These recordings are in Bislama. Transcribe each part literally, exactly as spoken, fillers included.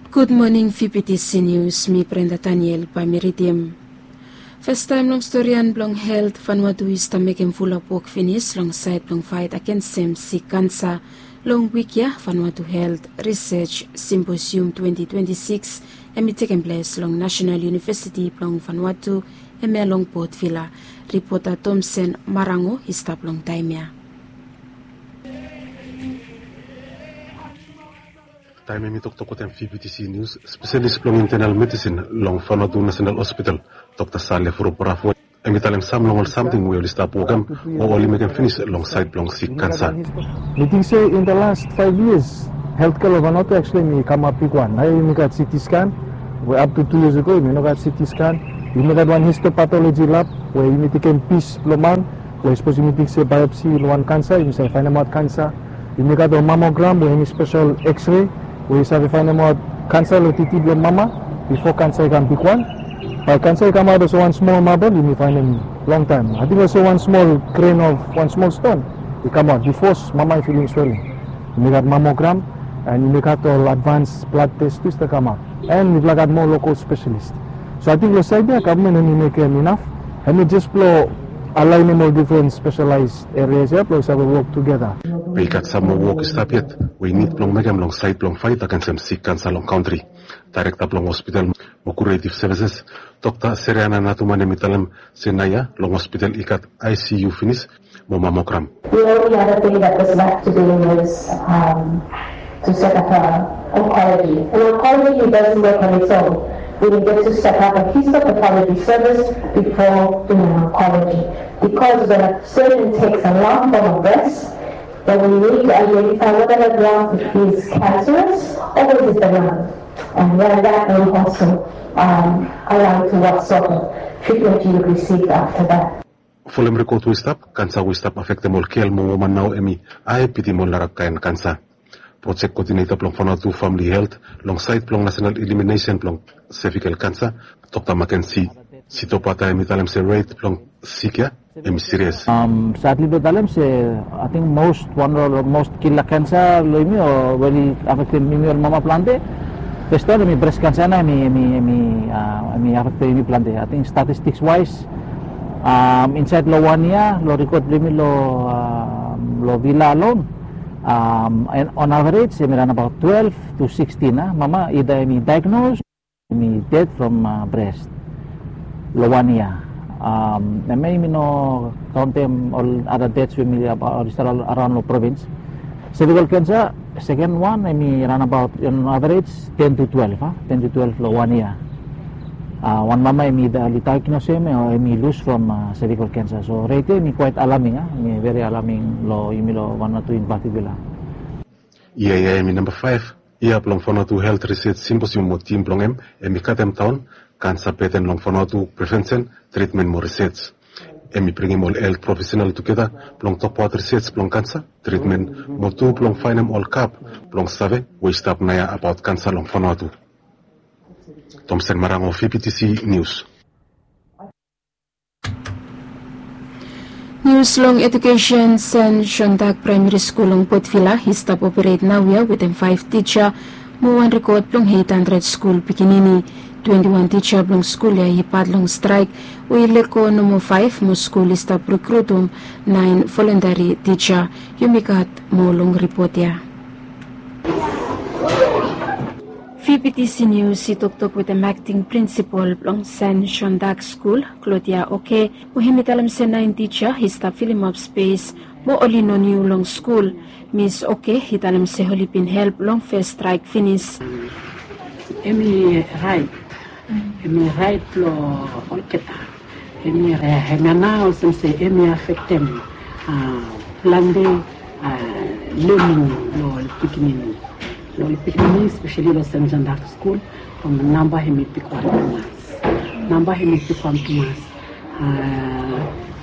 Gud moning, V P T C News, mi Brenda Daniel bae mi ridim. Fastaem long storian blong helt, Vanuatu i stap mekem fulap wok finis long saed blong faet agensem sik kansa. Long wik ya, Vanuatu Helt Risej Simposium twenti twenti sikis hemi tekem ples long Nasenal Univesiti blong Vanuatu, hemia long Port Vila. Ripota Tomsen Marango i stap long taem ya. Taem hemi toktok wetem V P T C News, spesalis blong intenal medisin long Vanuatu Nasenal Hospital, Dokta Sale Furu Bravo, hemi talem sam long ol samting we oli stap wokem o oli mekem finis long saed blong sik kansa. Mi ting se in the last five years, heltkea long Vanuatu actually hemi kamap bigwan. Naoia yumi gat C T scan, we up to two years ago yumi no gat C T scan. Yumi gat wan histopathology lab we yumi tekem pis blong man, we sapos yumi ting se biopsy long wan kansa, yumi save faenemaot kansa. Yumi gat ol mammogram we hemi spesel X-ray we yu save faenemaot kansa long titi blong mama bifo kansa i kam bigwan. Bae kansa i kamaot olsem wan smol mabol, yumi faenem longtaem. Ating olsem wan smol gren of wan smol ston i kamaot bifo mama i filim sweling. Yumi gat mammogram, and yumi gat ol advans blad tes tu i stap kamaot. And mifala gat moa lokol spesalis. So ating long saed ya gavman hemi mekem inaf, hemi jes blong alaenem ol difren spesalaes erias ya blong save wok tugeta. Be i gat sam moa wok i stap yet we i nid blong mekem long saed blong faet agensem sik kansa long kantri. Daerekta blong hospital mo kuretiv sevises, Dokta Seriana Natuman, hemi talem se naoia long hospital i gat I C U finis mo mammogram. The only other thing that was left to do was um, to set up a oncology. And oncology doesn't work on its own. We needed to set up a histopathology service before doing oncology. Because when a surgeon takes a lump from a breast, then we need to identify whether that lump is cancerous or is it benign. And then that will also um, allow to what sort of treatment you would receive after that. Folem rikot we i stap, kansa we i stap afektem ol gel mo woman nao hemi hae bitim ol narakaen kansa. Projek koodineta blong Vanuatu Famili Helt long saed blong nasenal eliminesen blong sevikel kansa, Dokta Makensi Sitopata, hemi talem se ret blong sik ya hemi sirias. Sadli blong talem se ating mos wan long mos kila kansa long yumi o we oli afektem yumi ol mama plante. Fes wan hemi bres kansa nao hemi hemi hemi afektem yumi plante. Ating statistiks waes, insaed long wan yia long rikot blong yumi long Vila alon, on averej hemi ran abaot twelve to sixteen a mama ida hemi daegnos, hemi ded from bres long wan yia. Hemia yumi no kaontem ol ada deds we hemi oli stap araon long provins. Sevikel kansa, seken wan hemi ran abaot on averej ten to twelve a ten to twelve long wan yia. Wan mama hemi oli daegnosem o hemi lus from sevikel kansa. So ret ya hemi kwaet alaming a hemi veri alaming long yumi long Vanuatu in patikula. Yia ya hemi namba faef yia blong Vanuatu Helt Risej Simposium mo tim blong hem hemi katem daon kansa beten long Vanuatu, prevensen, tritmen mo risej. Hemi bringim ol helt profesenal tugeta blong tokbaot risej blong kansa, tritmen mo tu blong faenem ol gap blong save we i stap naoia abaot kansa long Vanuatu. Tomsen Marango, V P T C News. Nius long edukesen. Sen Sondag Praemari Skul long Port Vila i stap operet naoia wetem faef tija mo wan rikot blong eit handred skul pikinini. Twenti wan tija blong skul ya i pat long straek we i lego nomo faef mo skul i stap rekrutum naen volontari tija. Yumi gat moa long ripot ya. V P T C Nius i toktok wetem akting prinsipol blong Sen Sondag Skul, Klodia Oke, we hemi talem se naen tija i stap filimap spes mo oli no niu long skul. Mis Oke i talem se oli bin help long fes straek finis. Hemi raet, hemi raet blong olgeta. Hemi, hemia nao olsem se hemi afektem plante lening long ol pikinini, long ol pikinini, espeseli long Sen Sondag Skul. From namba hemi bigwan tumas, namba hemi bigwan tumas.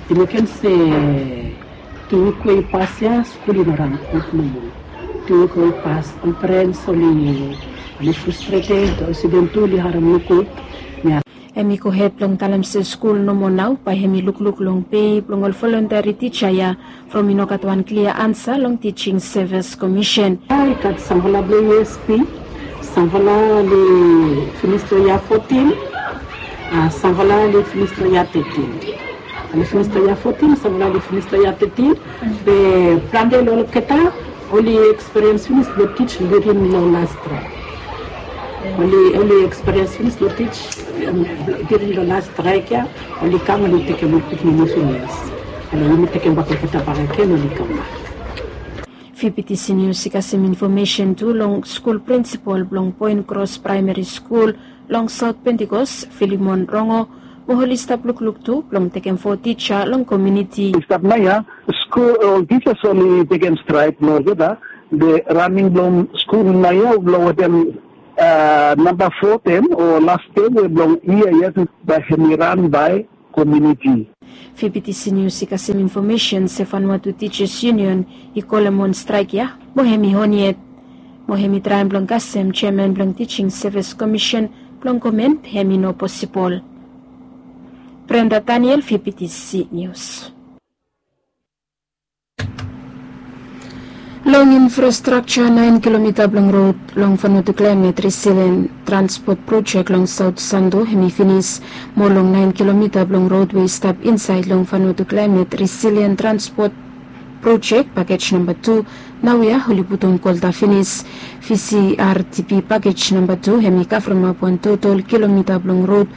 I mekem se tu wik we i pas ya skul i no ran gud nomo. Tu wik we i pas ol perens oli, oli frustreted, ol studen tu oli harem nogud. Hemi gohed blong talem se skul nomo nao bae hemi lukluk long pe blong ol volontari tija ya from i no gat wan klia ansa long Teaching Service Commission. I gat samfala blong U S P, Samfala oli finis long yia fotin, a, samfala oli finis long yia tetin. Oli finis long yia fotin, samfala oli finis long yia tetin. Be plante long olgeta oli ekspiriens finis long tij during long las straek. Oli, oli ekspiriens finis long tij, em, during long las straek ya, oli kam, oli tekem ol pikinini finis. Oli, yumi tekem bak olgeta bakegen, oli kambak. Fifty Senior i kasem infomesen tu long skul prinsipol blong Point Cross Praemari Skul long Saot Pentikos, Filimon Rongo, mo oli stap lukluk tu blong tekem fo tija long komuniti. I stap naoia, skul, ol tijas oli tekem straek, no olgeta, be raning blong skul naoia blong wetem, a, namba fo tem o las tem we blong yia ya, bae hemi ran bae komuniti. Fifty Senior i kasem infomesen se Vanuatu Teachers Union i kolem wan straek ya, mo hemi on yet. Mo hemi traem blong kasem jeaman blong Teaching Service Commission blong komen be hemi no posibol. Brenda Daniel, Fifty Senior. Long infrastrakja, naen kilomita blong rod long Vanuatu Climate Resilient Transport Project long Saot Santo hemi finis. Mo long naen kilomita blong rod we i stap insaed long Vanuatu Climate Resilient Transport Project pakej namba tu, naoia oli putum kolta finis. V C R T P pakej namba tu hemi kavremap wan total kilomita blong rod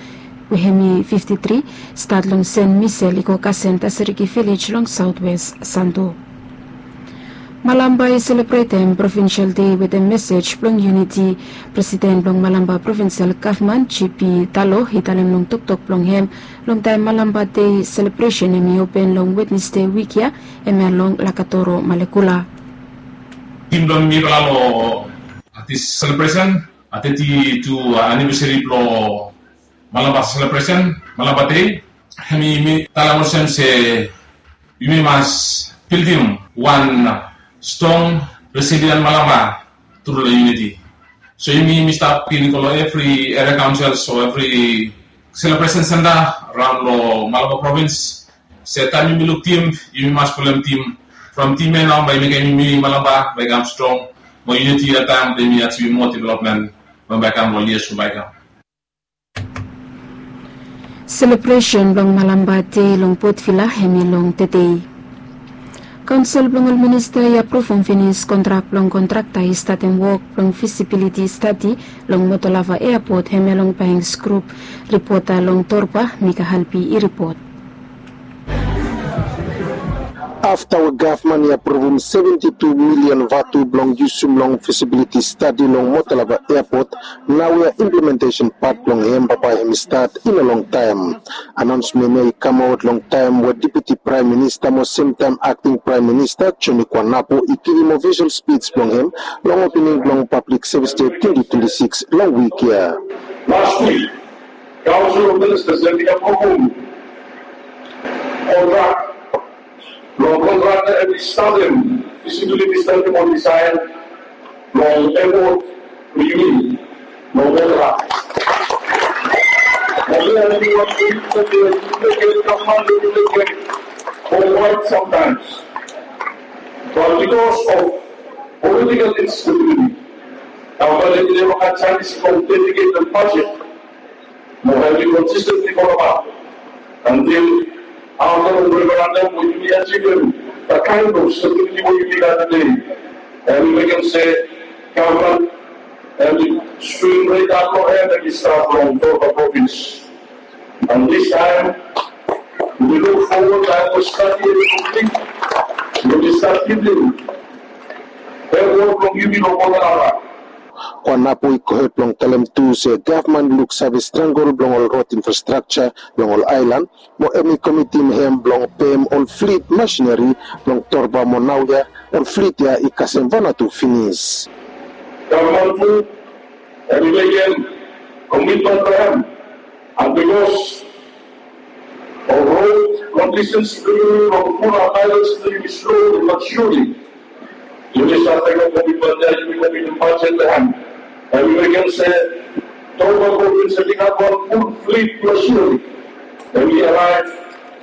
we hemi fifti tri, stat long Sen Misel i go kasem Taseriki Vilej long Saotwes Santo. Malampa i selebretem Provinsel Dei wetem mesej blong yuniti. Presiden blong Malampa Provinsel Gavman, G P Talo, i talem long toktok blong hem long taem Malampa Dei selebresen hemi open long Wednesde wik ya, hemia long Lakatoro, Malekula. Tim blong mifala long, a, dis selebresen, a, teti tu, a, anivesari blong Malampa selebresen, Malampa Dei, hemi talem olsem se yumi mas bildim wan strong, resilient Malampa tru long yuniti. So yumi, yumi stap givim long evri eria kaonsel, so evri selebresen senta raon long Malampa provins, se taem yumi luk tim, yumi mas folem tim. From tim ya nao bae i mekem yumi Malampa bae i kam strong. Mo yuniti, oltaem bae yumi ajivim moa developmen we bae i kam long yias we bae i kam. Selebresen blong Malampa Dei long Port Vila hemi long tedei. Kaonsel blong ol minista i apruvum finis kontrak blong kontrakta i statem wok blong fisibiliti stadi long Motolava Eapot, hemia long Banks Grup. Ripota long Torba, Mika Halpi i ripot. Afta we gavman i apruvum seventi tu milian vatu blong yusum long fisibiliti stadi long Motolava Eapot, naoia implementesen pat blong hem bambae hemi stat i no longtaem. Anaonsmen ya i kamaot long taem we Deputi Praem Minista mo semtaem Akting Praem Minista Joni Kuanapu i givim ofisol spij blong hem long opening blong Pablik Sevis Dei twenti twenti sikis long wik ya. Las wik, Kaonsel of Ministas hemi apruvum kontrak blong kontrakta hemi statem fisibiliti stadi mo disaen blong eapot blong Motolava. Mo mi, a, mi wan ting we mi mekem, gavman, we mi mekem for quite some times. But because of political instability, gavman hemi neva gat janis blong dediketem bajet mo hemi konsistentli folem ap antil afta long referendam we yumi ajivim, the kind of stability we yumi gat tede, hemi mekem se gavman hemi swing ret ap long hem hemi stap long Torba provins. And this time, we look forward, I will start here in Italy. We will start building. Airport blong yumi long Motolava. Kuanapu i gohed blong talem tu se gavman i luksave strangol blong ol rod infrastrakja long ol aelan, mo hemi komitim hem blong pem ol flit masineri blong Torba mo naoia ol flit ya i kasem Vanuatu finis. Gavman tu hemi mekem komitmen blong hem, and bikos of rod kondisens blong yumi, long pul aelan blong yumi, slowly but surely yumi save mekem komitmen ya, yumi komitim bajet long hem. Hemi mekem se Torba provins hemi gat wan ful flit blong surely. Hemi araev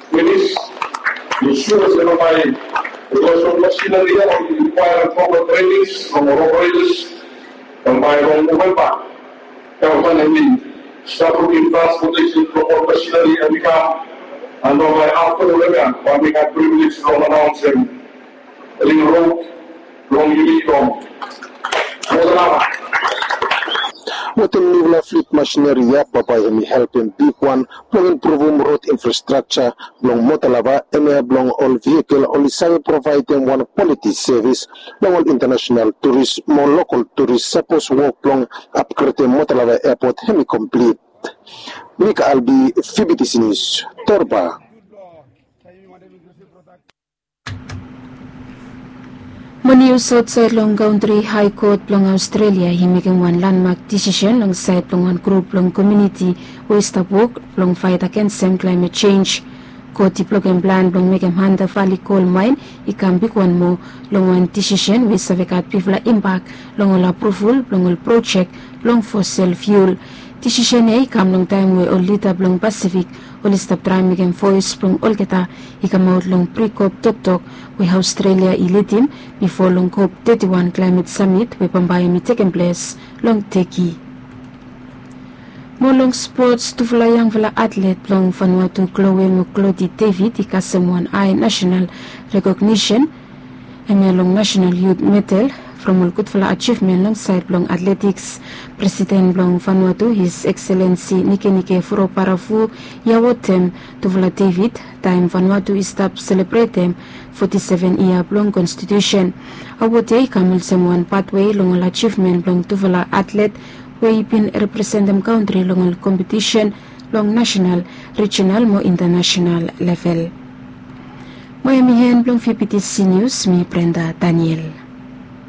finis. Yu sua se long bae, bikos long masineri ya oli rikwaerem propa trenings from ol operetors, from bae Long Novemba, gavman hemi stap lukim transportesen blong ol masineri hemi kam. Mo long aftanun ya mi gat privilej blong anaonsem ring rod blong yumi long Motolava. Wetem niufala flit masineri ya, bambae hemi helpem bigwan blong impruvum rod infrastrakja blong Motolava, hemia blong ol vehikel oli save provaedem wan kwaliti sevis long ol intanasenal turis mo lokol turis sapos wok blong apgredem Motolava Epot hemi komplit. Mika Albi, Fibitisi Nius, Torba. Mo nius aotsaed long kantri, Hae Kot blong Aostrelia i mekem wan landmak disisen long saed blong wan grup blong komuniti we i stap wok blong faet agensem klaemet jenj. Kot i blokem plan blong mekem Hunter Valley kol maen i kam bigwan moa long wan disisen we i save gat bigfala imbak long ol apruvul blong ol projek blong fosel fiul. Disisen ya i kam long taem we ol lida blong Pasifik oli stap traem mekem voes blong olgeta i kamaot long pri-kop toktok we Aostrelia i lidim bifo long kop teti wan klaemet samit we bambae hemi tekem ples long Teki. Mo long spots, tufala yangfala atlet blong Vanuatu, Chloe mo Clody David, i kasem wan hae nasenal rekognisen hemia long Nasenal Yut Medal from ol gudfala ajivmen long saed blong atletiks. Presiden blong Vanuatu, His Excellency Nikenike Vurobaravu, i awotem tufala David taem Vanuatu i stap selebretem foti seven yia blong konstitusen. Awod ya i kam olsem wan patwe long ol ajivmen blong tufala atlet we i bin representem kantri long ol kompetisen long nasenal, rijinal mo intanasenal level. Mo hemi en blong Fibitisi Nius, mi Brenda Daniel.